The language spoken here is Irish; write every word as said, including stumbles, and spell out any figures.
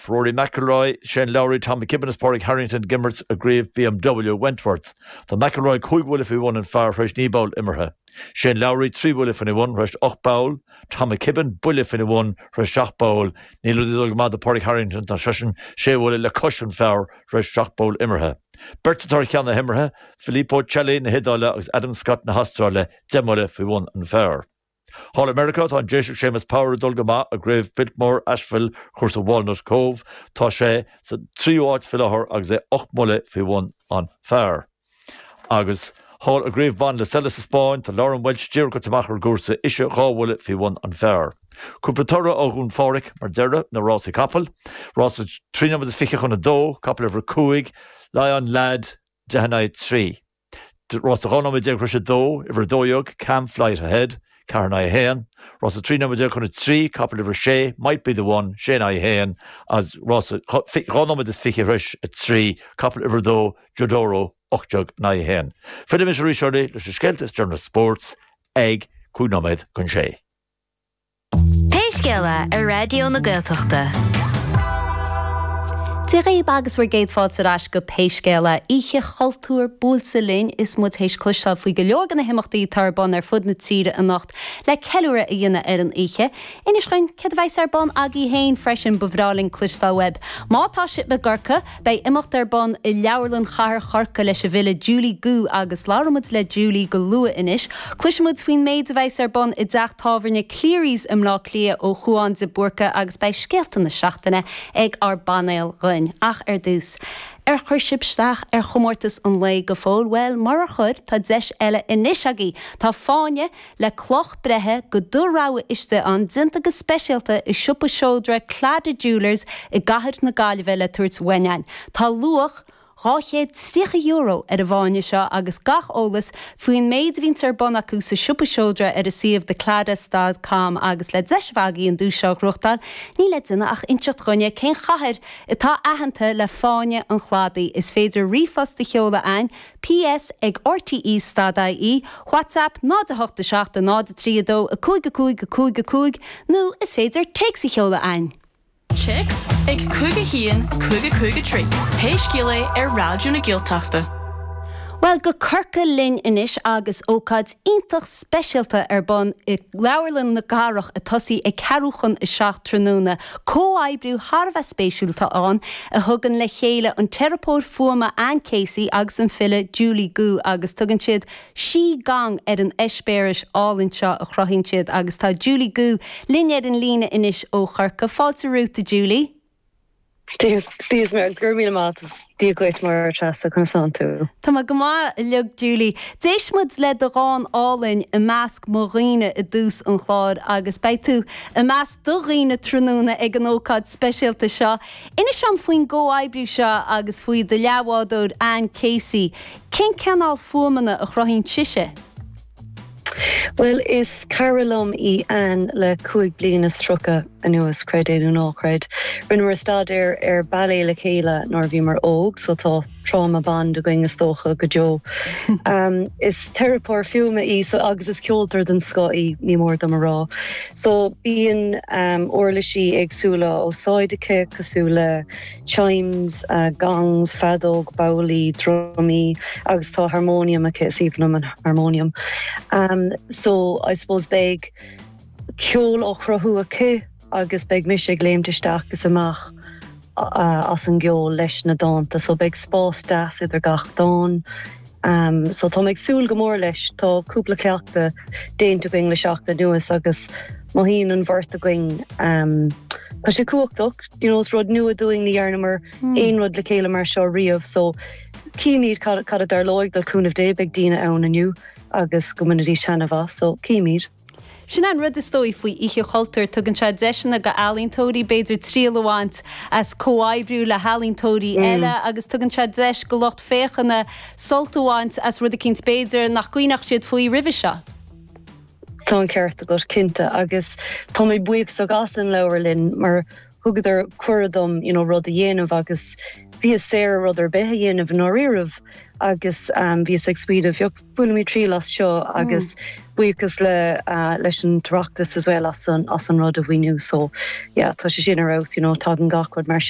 Rory McIlroy, Shane Lowry, Tom McKibbin is Pádraig Harrington ag imirt i gCraobh BMW Wentworth. Tá McIlroy cúig bhuille faoi bhun an phar tar éis naoi bpoll imeartha. Shane Lowry trí bhuille faoina bhun tar éis ocht bpoll, Tom McKibbin buille faoina bhun tar éis seacht bpoll, níl rudaí ag dul go maith do Pádraig Harrington tá seisean sé bhuille le cois an phar tar éis seacht bpoll imeartha. Beirt atá ar cheann na himeartha, Filippo Celli na hIodáile agus Adam Scott na hAstráile deich mbuille faoi bhun an phar. Thall i Meiriceá tá an Déiseach Séamus Power ag dul go maith i gCraobh Biltmore Asheville chúrsa Walnut Cove tá sé sa tríú háit faoi láthair agus é ocht mbuille faoi bhun an phar. Agus thall i gCraobh Ban La Sella sa Spáinn tá Lauren Welch díreach amach ar an gcúrsa ise dhá bhuille faoi bhun an phar. Cúpla toradh ó Dhún Phádraig mar deireadh na rásaí capall, Rása trí nóiméad is fiche chun a dó, capall uimhir cúig, Lion Lad deich in aghaidh trí. Rása dhá nóiméad déag tar éis a dó, uimhir dó dhéag, Cam Flight Ahead, ceathair in aghaidh a haon, Rása trí nóiméad déag chun a trí, capall uimhir sé, Might be the one, sé in aghaidh a haon, agus rása dhá nóiméad is fiche tar éis a trí, capall uimhir dó, Jodoro, ocht déag in aghaidh a haon. Fillfidh mise arís oraibh leis na scéalta is deireanaí spóirt ag cúig nóiméad chun sé. Pé scéal é ar Raidió na Gaeltachta. Dia dhaoibh agus bhur gcéad fáilte ar ais go Pé Scéal é Oíche Chultúir buailte linn is muid théis cloisteáil faoi go leor de na himeachtaí atá ar bun ar fud na tíre anocht le ceiliúradh a dhéanamh ar an oíche. Inis dúinn céard a bheas ar bun agaibh féin freisin ba bhreá linn cloisteáil uaibh. Má tá sibh i gCorcaigh, beidh imeacht ar bun i Leabharlann Chathair Chorcaí leis an bhfile Julie Gu agus labhróimid le Julie go luath anois. Cloisfimid faoin méid a bheas ar bun i dteach tábhairne Cleary's i mBleá Cliath ó Chuan de Búrca agus beidh scéalta na seachtaine ag ár bpainéal dhúinn ach ar dtús. Ar chuir sibh isteach ar chomórtas an lae go fóill well murar chuir tá deis eile anois agaibh Tá fáinne le cloch breithe de do rogha istigh ann déanta go speisialta i siopa seodra Claddagh Jewellers i gcathair na Gaillimhe le tabhairt uainn. Tá luach dhá chéad tríocha euro ar an bhfáinne seo agus gach eolas faoin méid a bhíonn ar bun acu sa siopa seodra ar a suíomh thecladagh.com agus le deis bhagaí an dú seo gnóthachtáil, ní le déanamh ach inseacht dúinne cén chathair atá aitheanta le fáinne an chladaigh. Is féidir ríomhphost a sheoladh chugainn PS ag RTE dot IE, WhatsApp náid a hocht a seacht a náid a trí a dó a cúig a cúig a cúig a cúig nó is féidir téacs a sheoladh chugainn. Téacs ag cúig a haon cúig a cúig a trí. Pé scéal é ar Raidió na Gaeltachta. Well go Corcaigh linn anois agus ócáid iontach speisialta ar bun i Leabharlann na Cathrach ag tosú ag ceathrú chun a seacht tráthnóna. Comhoibriú thar a bheith spéisiúil atá ann a thugann le chéile an teiripeoir fuaime Anne Casey agus an file Julie Gu agus tugann siad sí gang ar an eispéireas álainn seo a chruthaíonn siad agus tá Julie Gu linn ar an líne anois ó Chorcaigh. Fáilte romhat a Julie. Dia mé gur mí mat Dia duit mar Treasa conas tánn tú. Tá mé go maith uilig Julie. D'éist muid le do dhán álainn i measc mo dhaoine i dtús an chláir agus beidh tú i measc do dhaoine tráthnóna ag an ócáid speisialta seo. Inis dom faoin gcomhoibriú seo agus faoi do leathbhádóir Anne Casey. Cén cineál fuaimeanna a chruthaíonn sise? Well is cara liom í Anne le cúig bliana is tríocha anuas creid é nó ná creid. Rinneamar staidéar ar ballet le chéile nuair a bhíomar óg, so tá trauma bond againn is dócha go deo. Um, is teiripeoir fuaime í so agus is ceoltóir den scoth í ní mór dom a rá. So bíonn um, uirlisí éagsúla á úsáid aici cosúil le chimes, uh, gongs, feadóg, babhlaí, drumaí agus tá harmonium aici is aoibhinn an harmonium. Um, so I suppose beidh ceol á chruthú aici agus beidh mise ag léimt isteach is amach uh, as an gceol leis na dánta, so beidh spás deas idir gach dán. Um, so tá ag súil go mór leis tá cúpla cleachtadh déanta againn le seachtain anuas agus mothaíonn an bheirt againn um, Tá sé cumhachtach you know, is rud nua dúinn ní dhearnamar mm. aon rud le chéile mar seo riamh, so címid cad a tharlóidh le cúnamh Dé beidh daoine ann inniu agus go mbainfidís taitneamh as so címid. Sin an rud is dóigh faoi Oíche Chultúir tugann sé deiseanna go ealaíontóirí b'fhéidir triail a bhaint as comhoibriú le healaíontóirí mm. eile agus tugann sé deis go lucht féachana sult a bhaint as rud eicínt b'fhéidir nach gcuimhneodh siad faoi roimhe seo. Tá an ceart agat cinnte agus tá mé buíoch as an leabharlann mar thugadar cuireadh dom you know, rud a dhéanamh agus bhíos saor rud ar bith a dhéanamh i ndáiríribh agus um, bhíos ag smaoineamh bainfidh mé triail as seo agus mm. buíochas le uh, leis an Oireachtas as well as an as an rud a mhaoiniú so yeah, tá sé sin ar fheabhas you know, tagann gach rud mar